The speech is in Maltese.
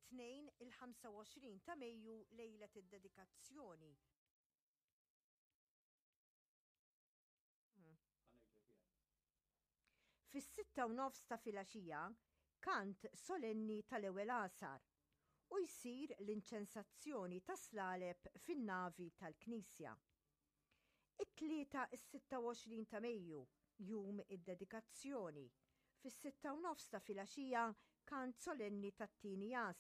It-Tnejn il-25 ta' Mejju lejlet id-dedikazzjoni. Fis-6:30 ta' filgħaxija, kant solenni tal-ewwel għasar u jsir l-inċensazzjoni tas-slaleb fin-navi tal-knisja. It-Tlieta s-26 ta' Mejju, jum id-dedikazzjoni, fis-6:30 ta' filgħaxija kant solenni tat-tieni għasar.